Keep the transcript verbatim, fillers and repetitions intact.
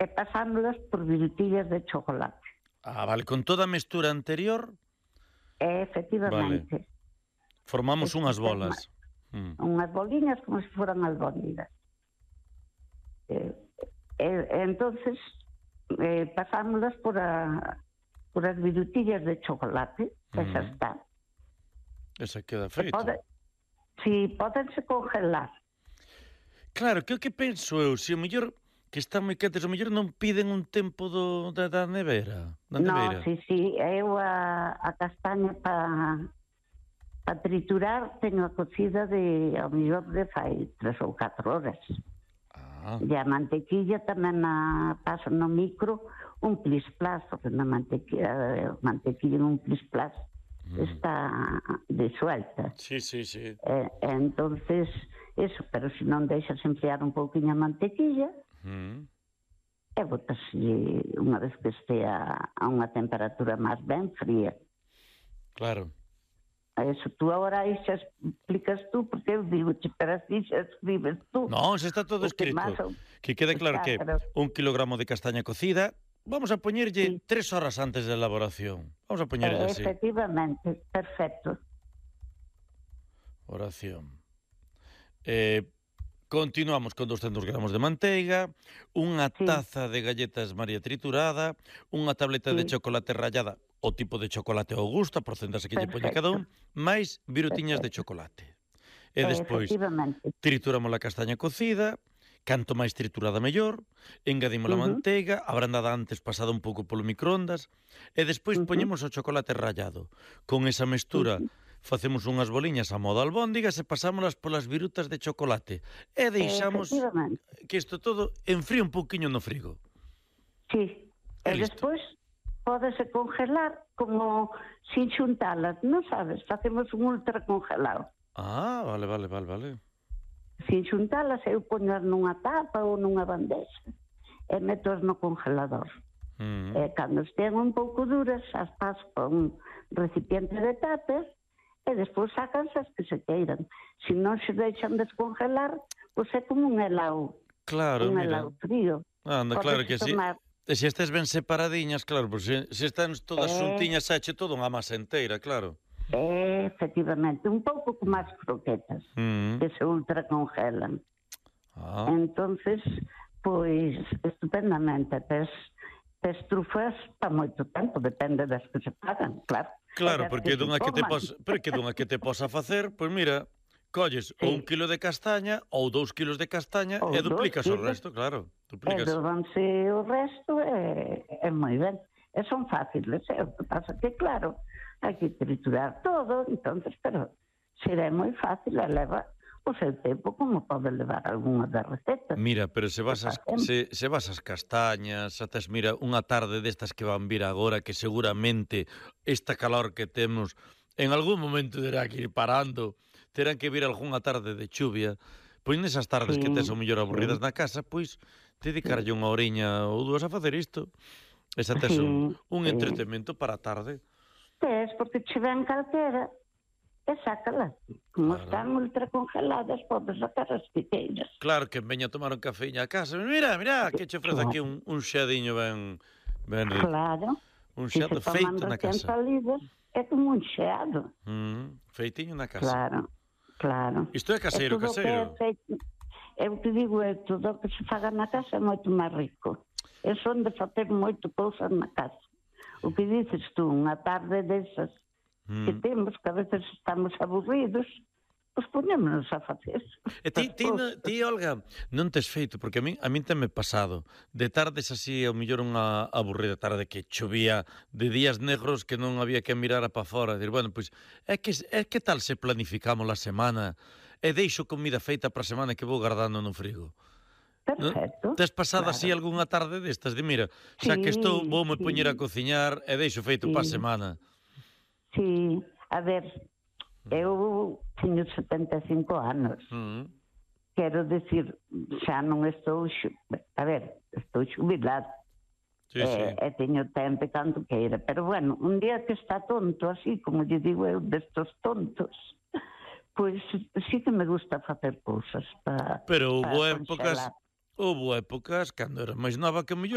e pasándolas por virutillas de chocolate. Ah, vale, con toda a mestura anterior... E, efectivamente. Vale. Formamos unhas bolas. Mm. Unhas boliñas como se foran albóndigas. E, e, e entonces eh, pasámoslas por, a, por as virutillas de chocolate, que mm. xa está. Esa queda feita. Pode, si, pódense congelar. Claro, que o que penso eu, se o mellor que están moi quentes, o mellor non piden un tempo do, da, da nevera? Da No, nevera. si, si, eu a, a castaña para pa triturar teño a cocida de, ao mellor de fai tres ou catro horas. Ah. E a mantequilla tamén a paso no micro un plis-plas, porque na mantequilla, mantequilla en un plis-plas mm. está disuelta. Sí, sí, sí. E, entonces... Eso, pero se non deixas enfriar un pouquinho a mantequilla, mm. e botas unha vez que estea a unha temperatura máis ben fría. Claro. Eso, tú agora aí xa explicas tú, porque eu digo, pero así xa escribes tú. Non, xa está todo escrito. O... Que quede claro que un kilogramo de castaña cocida, vamos a poñerlle sí. tres horas antes da elaboración. Vamos a poñerlle eh, así. Efectivamente, perfecto. Oración. Eh, continuamos con doscentos gramos de manteiga, unha sí. taza de galletas María triturada, unha tableta sí. de chocolate rallada, o tipo de chocolate ao gusto, a porcentaxe que lle poña cada un, máis virutiñas de chocolate. E despois trituramos a castaña cocida, canto máis triturada mellor, engadimos uh-huh. a manteiga, abrandada antes pasada un pouco polo microondas, e despois uh-huh. poñemos o chocolate rallado. Con esa mestura uh-huh. facemos unhas boliñas a modo albóndigas e pasámolas polas virutas de chocolate. E deixamos que isto todo enfríe un pouquiño no frigo. Sí. E, e despois pódese congelar como sin xuntalas, non sabes? Facemos un ultra congelado. Ah, vale, vale, vale, vale. Sin xuntalas eu poñas nunha tapa ou nunha bandexa e metos no congelador. Mm. E cando estén un pouco duras, as pas con recipiente de tupper e despois sacanse as que se queiran. Se non se deixan descongelar, pois é como un helado. Claro, un mira. helado frío. Anda, claro que si. E se estes ben separadiñas, claro, pois se, se están todas eh... xuntiñas, sache todo unha masa inteira, claro. Eh, efectivamente, un pouco como as croquetas, mm. que se ultra congelan. Ah. Entonces, pois, estupendamente, tes, tes trufas para moito tempo, depende das que se pagan, claro. Claro, porque dunha que te pos, pero que dunha que te posa facer, pois mira, colles sí. un kilo de castaña ou dous kilos de castaña ou e duplicas o resto, claro. Duplicas. E dobanse o resto e é moi ben. E son fáciles, é o que pasa que, claro, hai que triturar todo, entonces, pero será moi fácil, e leva o seu tempo como pode levar algunha das recetas. Mira, pero se vas as, se, se vas as castañas, atas, mira, unha tarde destas que van vir agora, que seguramente esta calor que temos en algún momento terá que ir parando, terán que vir algunha tarde de chuvia, pois nesas tardes sí, que tes o mellor aburridas sí. na casa, pois dedicarlle unha oriña ou dúas a facer isto. Esa tes sí, un, un sí. entretenimento para a tarde. Tes, porque che ven calquera e sácalas. Como claro. están ultra congeladas, podes sacar as piteiras. Claro, que veña a tomar un cafeíño a casa. Mira, mira, que che ofrece aquí un, un xadiño ben, ben rico. Claro. Un xado si feito na casa. Salidas, é como un xeado. Mm, feitiño na casa. Claro, claro. Isto é caseiro, é caseiro. É feito, eu te digo, é tudo que se faga na casa é moito máis rico. É son de facer moito cousas na casa. O que dices tú, unha tarde desas mm. que temos, que a veces estamos aburridos, pois ponémonos a facer. E ti, ti, no, ti, Olga, non tes feito, porque a min, a min teme pasado, de tardes así, ao mellor unha aburrida tarde que chovía, de días negros que non había que mirar para fora, dir, bueno, pois, é que, é que tal se planificamos a semana e deixo comida feita para a semana que vou guardando no frigo? Perfecto. ¿No? Tes pasado claro. así algunha tarde destas de mira, xa sí, que estou, vou me sí. poñer a cociñar e deixo feito sí. para a semana. Sí, a ver, eu teño setenta e cinco anos. Mm. Quero decir, xa non estou, a ver, estou xubilado. Sí, e, sí. e teño tempo tanto queira, pero bueno, un día que está tonto, así como lle digo eu, destos tontos, pois sí que me gusta facer cousas para. Pero hubo épocas, houve épocas, cando era máis nova, que mellor